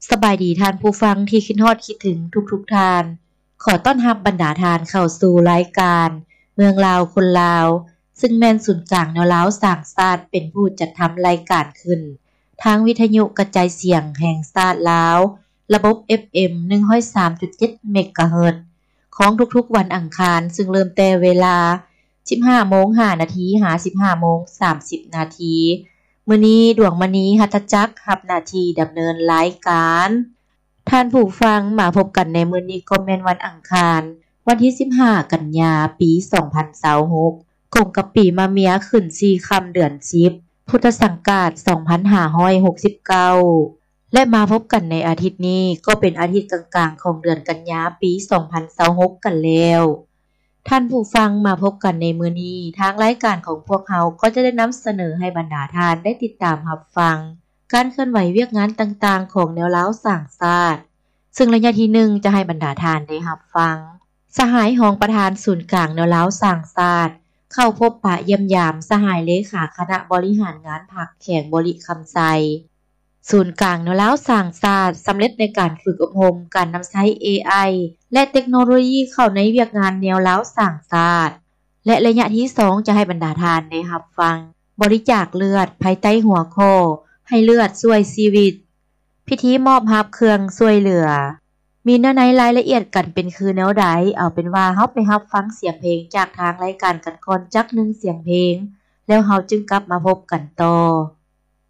ສະບາຍດີທ່ານຜູ້ຟັງທີ່ຄິດຮອດຄິດເຖິງທຸກໆທ່ານ. ຂໍຕ້ອນຮັບບັນດາທ່ານເຂົ້າສູ່ລາຍການເມືອງລາວຄົນລາວ, ຊຶ່ງແມ່ນສູນກາງແນວລາວສ້າງຊາດເປັນຜູ້ຈັດທຳລາຍການຂຶ້ນ ທາງວິທະຍຸກະຈາຍສຽງແຫ່ງຊາດລາວ, ລະບົບ ເອັຟເອັມ ໜຶ່ງຮ້ອຍສາມຈຸດເຈັດ ເມກາເຮີດ ຂອງທຸກໆວັນອັງຄານ, ຊຶ່ງເລີ່ມແຕ່ເວລາ ສິບຫ້າໂມງຫ້ານາທີ ຫາ ສິບຫ້າໂມງສາມສິບນາທີ. ມື້ນີ້ ດວງມະນີ ຫັດຖະຈັກ ຮັບໜ້າທີ່ດຳເນີນລາຍການ. ທ່ານຜູ້ຟັງ, ມາພົບກັນໃນມື້ນີ້ກໍແມ່ນວັນອັງຄານ, ວັນທີສິບຫ້າກັນຍາ ປີສອງພັນຊາວຫົກ ກົງກັບປີມະເມຍ ຂຶ້ນສີ່ຄ່ຳເດືອນສິບ ພຸດທະສັງກາດສອງພັນຫ້າຮ້ອຍຫົກສິບເກົ້າ ແລະ ມາພົບກັນໃນອາທິດນີ້ ກໍເປັນອາທິດກາງໆຂອງເດືອນກັນຍາ ປີສອງພັນຊາວຫົກກັນແລ້ວ. ທ່ານຜູ້ຟັງ, ມາພົບກັນໃນມື້ນີ້, ທາງລາຍການຂອງພວກເຮົາກໍຈະໄດ້ນຳສະເໜີໃຫ້ບັນດາທ່ານໄດ້ຕິດຕາມຮັບຟັງ ການເຄື່ອນໄຫວວຽກງານຕ່າງໆຂອງແນວລາວສ້າງຊາດ, ຊຶ່ງໄລຍະທີໜຶ່ງຈະໃຫ້ບັນດາທ່ານໄດ້ຮັບຟັງ ສະຫາຍຮອງປະທານສູນກາງແນວລາວສ້າງຊາດ ເຂົ້າພົບປະຢ້ຽມຢາມສະຫາຍເລຂາຄະນະບໍລິຫານງານພັກແຂວງບໍລິຄຳໄຊ. ສູນກາງແນວລາວສ້າງຊາດສຳເລັດໃນການຝຶກອົບຮົມການນຳໃຊ້ເອໄອ ແລະ ເຕັກໂນໂລຢີເຂົ້າໃນວຽກງານແນວລາວສ້າງຊາດ ແລະ ໄລຍະທີສອງຈະໃຫ້ບັນດາທ່ານໄດ້ຮັບຟັງ ບໍລິຈາກເລືອດ ພາຍໃຕ້ຫົວຂໍ້ ໃຫ້ເລືອດຊ່ວຍຊີວິດ, ພິທີມອບຮັບເຄື່ອງຊ່ວຍເຫຼືອ. ມີເນື້ອໃນລາຍລະອຽດກັນເປັນຄືແນວໃດ? ເອົາເປັນວ່າເຮົາໄປຮັບຟັງສຽງເພງຈາກທາງລາຍການກັນກ່ອນຈັກໜຶ່ງສຽງເພງ ແລ້ວເຮົາຈຶ່ງກັບມາພົບກັນຕໍ່.